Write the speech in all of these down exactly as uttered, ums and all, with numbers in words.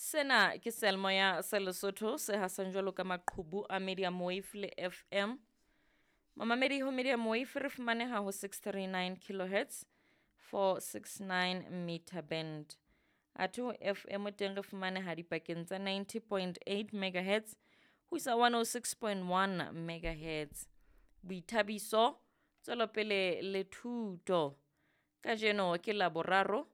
Sena ke seyalemoya sa Lesotho se hasang jwalo ka maqhubu a Medium Wave le F M. Mamamedi, ho Medium Wave re fumaneha ho six three nine kilohertz, four six nine meter band. Athe ho F M teng re fumaneha dipakeng tsa ninety point eight megahertz ho isa one oh six point one megahertz. Boithabiso, tswelopele le thuto. Kajeno ke Laboraro,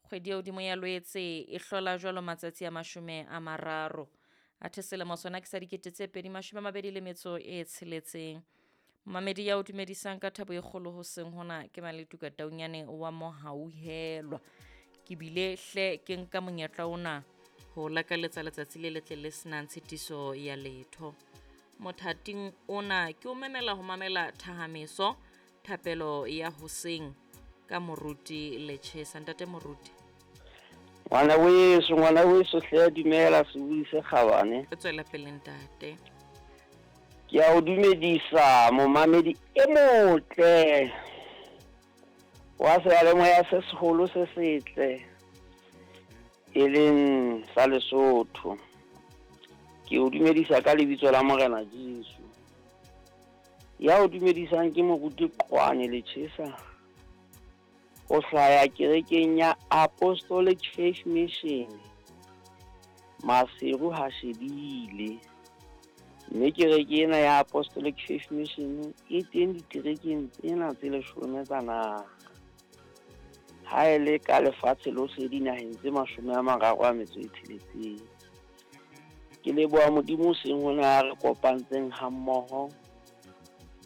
kgwedi ya hodimo ya Lwetse e hlola jwalo matsatsi a mashome a mararo. Athe selemo sona ke sa dikete tse pedi mashome a mabedi le metso e tsheletseng. Mamedi, ya o dumedisang ka thabo e kgolo hoseng hona ke Maletuka Taunyane wa Mohauhelwa. Ke bile hle ke nka monyetla ona ho lakaletsa letsatsi le letle le senang tshitiso ya letho. Mothating ona ke o memela ho mamela thahameso, thapelo ya hoseng ka Moruti Lechesa. Ntate Moruti. Ngwana weso, ngwana weso hle, dumela sebui se kgabane. O tswela pele, ntate. Ke a o dumedisa, momamedi e motle wa seyalemoya se seholo se setle e leng sa Lesotho. Ke o dumedisa ka lebitso la Morena Jesu. Ya o dumedisang ke Moruti Qwane Lechesa, o hlaya kerekeng ya Apostolic Faith Mission, Maseru ha shebile. Mme kereke ena ya Apostolic Faith Mission e teng diterekeng tsena tse leshome tsa naha, ha e le ka lefatshe lohle dinaheng tse mashome a mararo a metso e tsheletseng. Ke leboha Modimo seng hona ya re kopantseng ha mmoho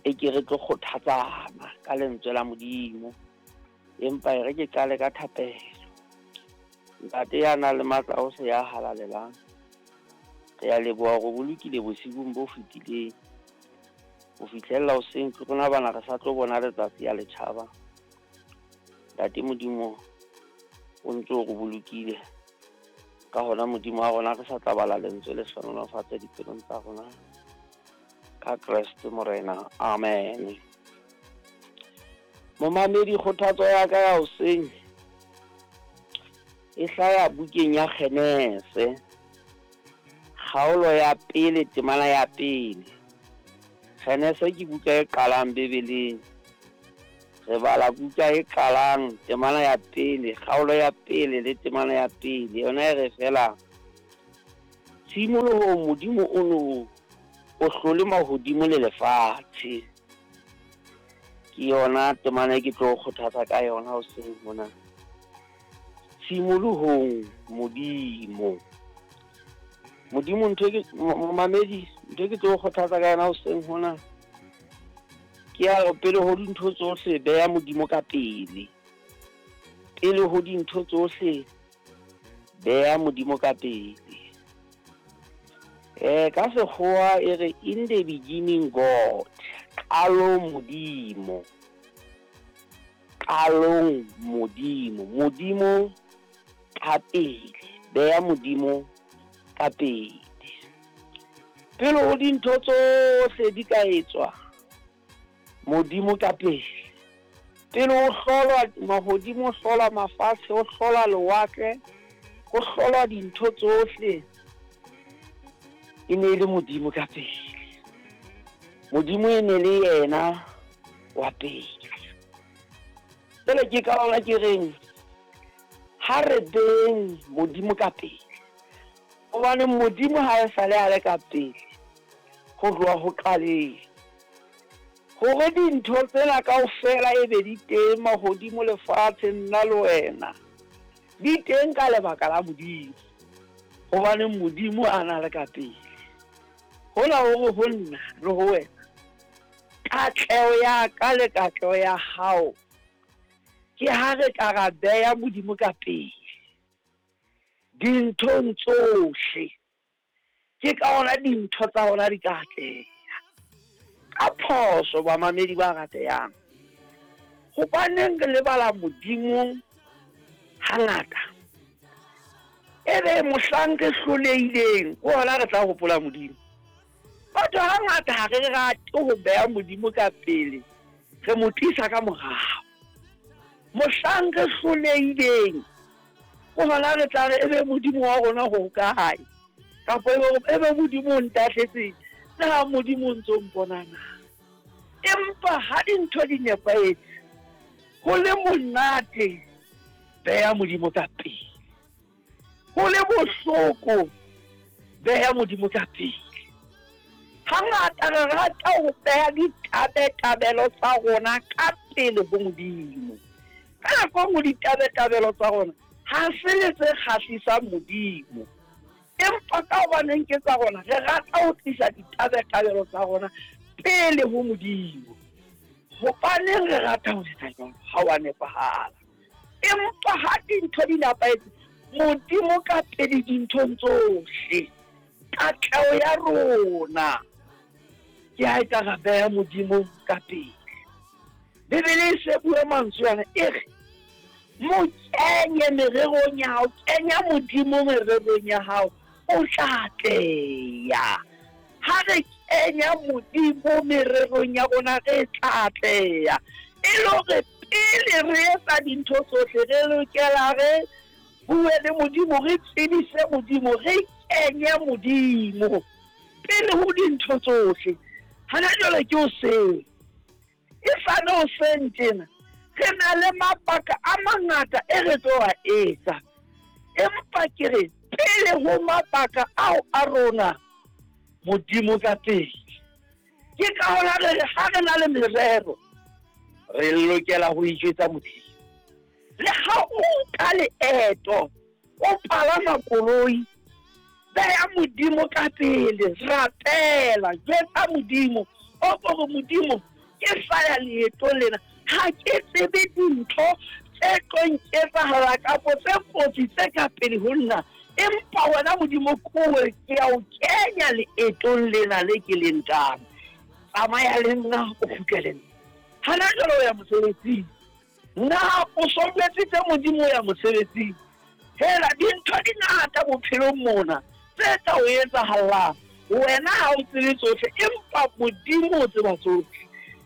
e ke re tlo kgothatsana ka lentswe la Modimo. Empa e re ke qale ka thapelo. Ntate ya nang le matla ohle, ya halalelang, re a leboha hore bolokile bosibung bo fetileng ho fihlella hoseng ke rona bana re sa tlo bona letsatsi ya letjhaba. Ntate Modimo, o ntso o re bolokile ka hona. Modimo wa rona, re sa tla bala lentswe le hlohonolofatse dipelong tsa rona ka Kreste Morena, amen. Momamedi, kgothatso ya ka ya hoseng e hlaya bukeng ya Genese, kgaolo ya pele, temana ya pele. Genese ke buka e qalang Bibeleng. Re bala buka e qalang, temana ya pele, kgaolo ya pele le temana ya pele. Yona e re fela: "Tshimolohong Modimo o no o hlole mahodimo le lefatshe." Ke yona temana e ke tlo kgothatsa ka yona hoseng hona. Tshimolohong Modimo. Modimo, ntho ke momamedi, ntho ke tlo kgothatsa ka yona hoseng hona ke ya hore pele ho dintho tsohle beha Modimo ka pele. Pele ho dintho tsohle beha Modimo ka pele. Eh ka sekgowa e re: "In the beginning God." Qalong Modimo. Qalong Modimo. Modimo ka pele. Beha Modimo ka pele. Pele ho dintho tsohle di ka etswa, Modimo ka pele. Pele ho hlolwa mahodimo, ho hlolwa mafatshe, ho hlolwa lewatle, ho hlolwa dintho tsohle, e ne e le Modimo ka pele. Modimo e ne le yena wa pele. Jwale ke ka hona ke reng ha re beng Modimo ka pele, hobane Modimo ha e sale a le ka pele ho tloha ho qaleng. Hore dintho tsena kaofela e be di teng, mahodimo, lefatshe, nna le wena, di teng ka lebaka la Modimo, hobane Modimo a na le ka pele. Hona hore ho nna le ho wena, katleho ya ka le katleho ya hao ke ha re ka ra beha Modimo ka pele dinthong tsohle. Ke ka hona dintho tsa rona di ka atleha. Ka phoso, bamamedi ba ratehang, hobaneng re lebala Modimo hangata? Ebe mohlang re hlolehileng ke hona re tla hopola Modimo. Batho hangata ha re rate ho beha Modimo ka pele, re mo tlisa ka morao. Mohlang re hlolehileng Ke hona re tla re ebe Modimo wa rona ho kae, kapa ebe Modimo o ntahletseng, na Modimo o ntso mpona na? Empa ha dintho di nepahetse, ho le monate, beha Modimo ka pele. Ho le bohloko, beha Modimo ka pele. Hangata re rata ho beha ditabatabelo tsa rona ka pele ho Modimo. Ka nako e nngwe ditabatabelo tsa rona ha se le tse kgahlisang Modimo. Empa ka hobaneng ke tsa rona, re rata ho tlisa ditabatabelo tsa rona pele ho Modimo. Hobaneng re rata ho etsa jwalo? Ha wa nepahala. Empa ha dintho di nepahetse, Modimo ka pele dinthong tsohle, katleho ya rona ke ha e tla ra beha Modimo ka pele. Bibele e se bua mantswe ana, e re mo kenye mererong ya hao, kenya Modimo mererong ya hao, o tla atleha. Ha re kenya Modimo mererong ya rona, re tla atleha. E le hore pele re etsa dintho tsohle, re lokela re bue le Modimo, re tsebise Modimo, re kenye Modimo pele ho dintho tsohle. Hana jwale ke hoseng, e sale hoseng tjena, re na le mabaka a mangata e re tlo a etsa. Empa ke re pele ho mabaka ao a rona, Modimo ka pele. Ke ka hona re re ha re na le merero, re lokela ho ijwetsa Modimo. Le ha o nka leeto, o palama koloi, beha Modimo ka pele, rapela, jwetsa Modimo, o kore Modimo, ke sa ya leetong lena, ha ke tsebe dintho tse tlo nketsahala kapo tse kotsi tse ka pele ho nna, empa wena Modimo kowe ke ya o kenya leetong lena le ke le nkang. Tsamaya le nna, o kgutle le nna. Hana jwale o ya mosebetsing, na o so jwetsitse Modimo o ya mosebetsing? Hela dintho di ngata bophelong mona tse tla o etsahallang. Wena ha o tsebe tsohle, empa Modimo o tseba tsohle.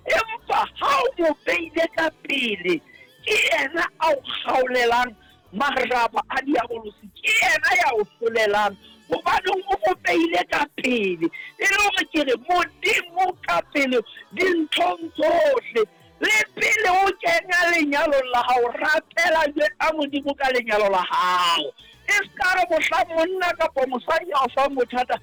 Empa ha o mo beile ka pele, ke yena a o kgaolelang maraba a diabolosi, ke yena ya o hlolelang, hobane o mo beile ka pele. E le hore ke re Modimo ka pele dinthong tsohle. Le pele o kenya lenyalong la hao, rapela jwetsa Modimo ka lenyalo la hao. E ska re mohlang monna kapa mosadi a o fang bothata,